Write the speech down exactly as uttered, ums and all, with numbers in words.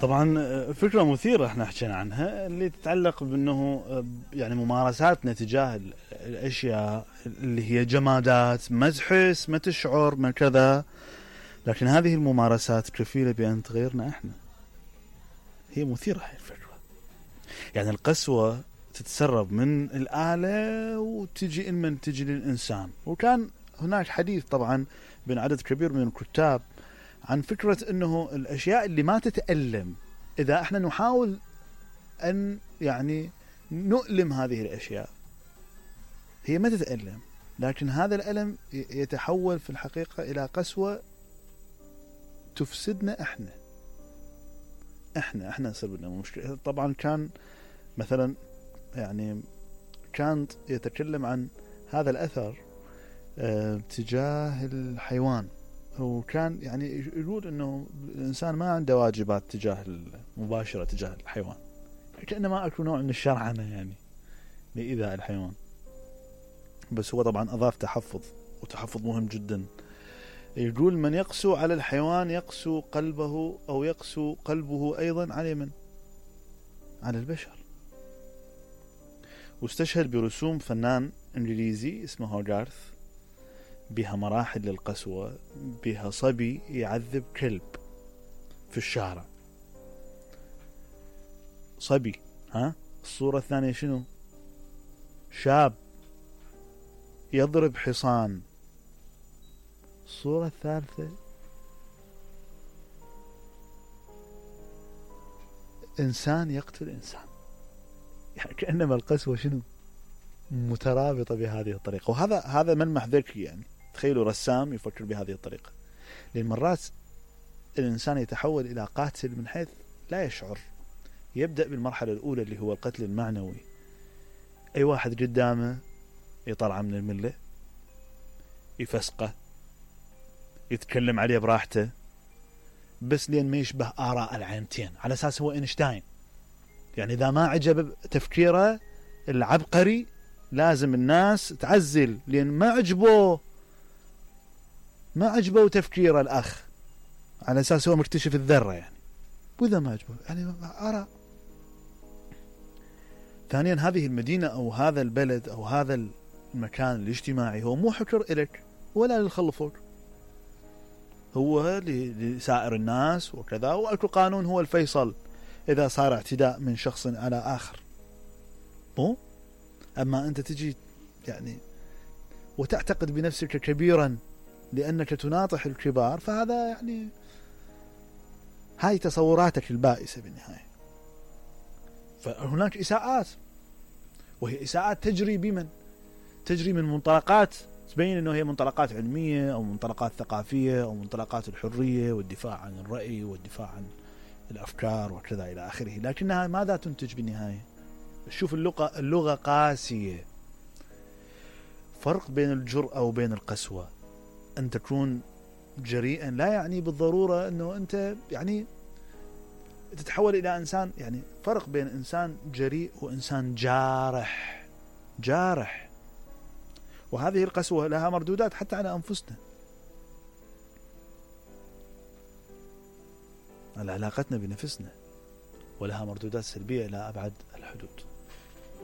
طبعا فكرة مثيرة احنا حكينا عنها، اللي تتعلق بأنه يعني ممارساتنا تجاه الأشياء اللي هي جمادات، ما تحس ما تشعر ما كذا، لكن هذه الممارسات كفيلة بأن تغيرنا احنا. هي مثيرة هاي الفكرة. يعني القسوة تتسرب من الآلة وتجي من تجي للإنسان. وكان هناك حديث طبعا بين عدد كبير من الكتاب عن فكرة أنه الأشياء اللي ما تتألم، إذا احنا نحاول أن يعني نؤلم هذه الأشياء، هي ما تتألم، لكن هذا الألم يتحول في الحقيقة إلى قسوة تفسدنا احنا احنا احنا نصير لنا مشكلة. طبعا كان مثلا يعني كانت يتكلم عن هذا الأثر اه تجاه الحيوان، وكان يعني يقول انه الانسان ما عنده واجبات تجاه المباشرة تجاه الحيوان، كأنما اكو نوع من الشرعنة يعني لإيذاء الحيوان. بس هو طبعا اضاف تحفظ، وتحفظ مهم جدا. يقول من يقسو على الحيوان يقسو قلبه، او يقسو قلبه ايضا على من؟ على البشر. واستشهد برسوم فنان انجليزي اسمه هوغارث بها مراحل للقسوة، بها صبي يعذب كلب في الشارع، صبي. ها الصورة الثانية شنو؟ شاب يضرب حصان. الصورة الثالثة إنسان يقتل إنسان. يعني كأنما القسوة شنو؟ مترابطة بهذه الطريقة. وهذا هذا ملمح ذكي. يعني تخيلوا رسام يفكر بهذه الطريقة. لأن مرات الإنسان يتحول إلى قاتل من حيث لا يشعر. يبدأ بالمرحلة الأولى اللي هو القتل المعنوي، أي واحد قدامه يطلع من الملة، يفسقه، يتكلم عليه براحته، بس لين ما يشبه آراء العينتين، على أساس هو إينشتاين. يعني إذا ما عجب تفكيره العبقري لازم الناس تعزل، لأن ما عجبه ما عجبه تفكير الأخ، على أساس هو مكتشف الذرة يعني. وإذا ما عجبه يعني آراء. ثانيا هذه المدينة أو هذا البلد أو هذا المكان الاجتماعي هو مو حكر إلك ولا للخلفوك، هو لسائر الناس وكذا، وأكو قانون هو الفيصل إذا صار اعتداء من شخص على آخر. مو أما أنت تجي يعني وتعتقد بنفسك كبيرا لأنك تناطح الكبار، فهذا يعني هاي تصوراتك البائسة بالنهاية. فهناك إساءات، وهي إساءات تجري بمن؟ تجري من منطلقات تبين أنه هي منطلقات علمية أو منطلقات ثقافية أو منطلقات الحرية والدفاع عن الرأي والدفاع عن الأفكار وكذا إلى آخره، لكنها ماذا تنتج بالنهاية؟ شوف اللغة اللغة قاسية. فرق بين الجرأة وبين القسوة. أن تكون جريئا لا يعني بالضرورة أنه أنت يعني تتحول إلى إنسان. يعني فرق بين إنسان جريء وإنسان جارح. جارح. وهذه القسوة لها مردودات حتى على أنفسنا، على علاقتنا بنفسنا، ولها مردودات سلبية إلى أبعد الحدود.